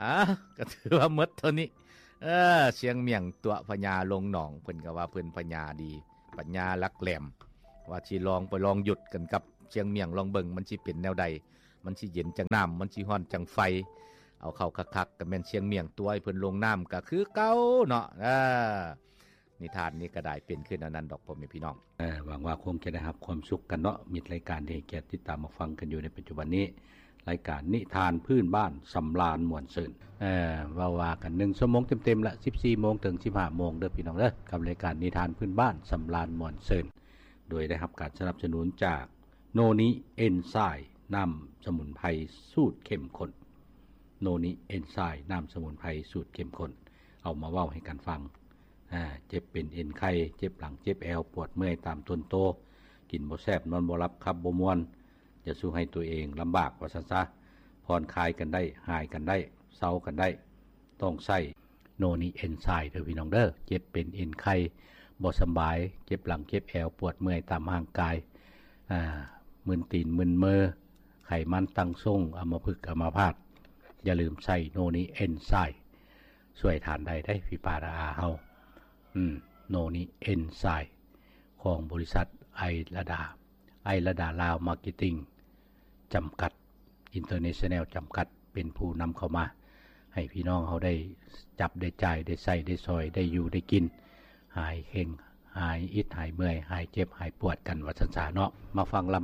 ອ່າ ກໍຖືວ່າໝົດເທົ່ານີ້. ເອີ ຊຽງໝ້ຽງຕົວະພະຍາລົງໜອງ ເພິ່ນກໍວ່າເພິ່ນພະຍາດີ ພະຍາຫຼັກແຫຼມ ວ່າຊິລອງໄປລອງຢຸດກັນກັບຊຽງໝ້ຽງລອງເບິ່ງ ມັນຊິເປັນແນວໃດ ມັນຊິເຢັນຈັ່ງນ້ຳ ມັນຊິຮ້ອນຈັ່ງໄຟ. ເອົາເຂົ້າຄັກໆ ກໍແມ່ນຊຽງໝ້ຽງຕົວະໃຫ້ເພິ່ນລົງນ້ຳກໍຄືເກົ່າເນາະ. ເອີ ນິທານນີ້ກໍໄດ້ເປັນຂຶ້ນອັນນັ້ນດອກ ພໍ່ແມ່ພີ່ນ້ອງ. ເອີ ຫວັງວ່າຄົງຈະໄດ້ຮັບຄວາມສຸກກັນເນາະ ມິດລາຍການທີ່ໃຫ້ກຽດຕິດຕາມຮັບຟັງກັນຢູ່ໃນປັດຈຸບັນນີ້ ລາຍການນິທານພື້ນບ້ານສຳລານມ່ວນຊື່ນ. ເອີ ເວົ້າວ່າກັນໜຶ່ງຊົ່ວໂມງເຕັມໆລະ ສິບສີ່ໂມງເຖິງສິບຫ້າໂມງເດີພີ່ນ້ອງເດີ ກັບລາຍການນິທານພື້ນບ້ານສຳລານມ່ວນຊື່ນ ໂດຍໄດ້ຮັບການສະໜັບສະໜູນຈາກໂນນິເອັນໄຊ ນ້ຳສະໝຸນໄພສູດເຂັ້ມຂຸ້ນ. ໂນນິເອັນໄຊ ນ້ຳສະໝຸນໄພສູດເຂັ້ມຂຸ້ນ ເອົາມາເວົ້າໃຫ້ກັນຟັງ. ອ່າ ເຈັບເປັນເອັນໄຂ່ ເຈັບຫຼັງ ເຈັບແອວ ປວດເມື່ອຍຕາມຕົນໂຕ ກິນບໍ່ແຊບ ນອນບໍ່ຫຼັບ ຂັບບໍ່ມ່ວນ ຈະສູ່ໃຫ້ຕົວເອງລຳບາກວ່າຊັ້ນຊະ ຜ່ອນຄາຍກັນໄດ້ ຫາຍກັນໄດ້ ເຊົາກັນໄດ້ ຕ້ອງໃຊ້ໂນນິເອັນໄຊເດີພີ່ນ້ອງເດີ. ເຈັບເປັນເອັນໄຂ່ ບໍ່ສຳບາຍ ເຈັບຫຼັງ ເຈັບແອວ ປວດເມື່ອຍຕາມຮ່າງກາຍ ອ່າ ມຶນຕີນມຶນມື ໄຂມັນຕັ້ງຊົງ ອຳມະພຶກອຳມະພາດ ຢ່າລືມໃຊ້ໂນນິເອັນໄຊ ຊ່ວຍທ່ານໄດ້ເດ້ ພີ່ປ້ານ້າອາເຮົາ. ອືມ ໂນນິເອັນໄຊ ຂອງບໍລິສັດໄອລະດາ ໄອລະດາລາວມາເກັດຕິງ ຈຳກັດ ອິນເຕີເນຊັນແນວ ຈຳກັດ ເປັນຜູ້ນຳເຂົ້າມາ ໃຫ້ພີ່ນ້ອງເຮົາໄດ້ຈັບໄດ້ຈ່າຍ ໄດ້ໃຊ້ໄດ້ສອຍ ໄດ້ຢູ່ໄດ້ກິນ ຫາຍເຄັ່ງ ຫາຍອິດຫາຍເມື່ອຍ ຫາຍເຈັບຫາຍປວດກັນວ່າຊັ້ນຊະເນາະ. ມາຟັງລຳ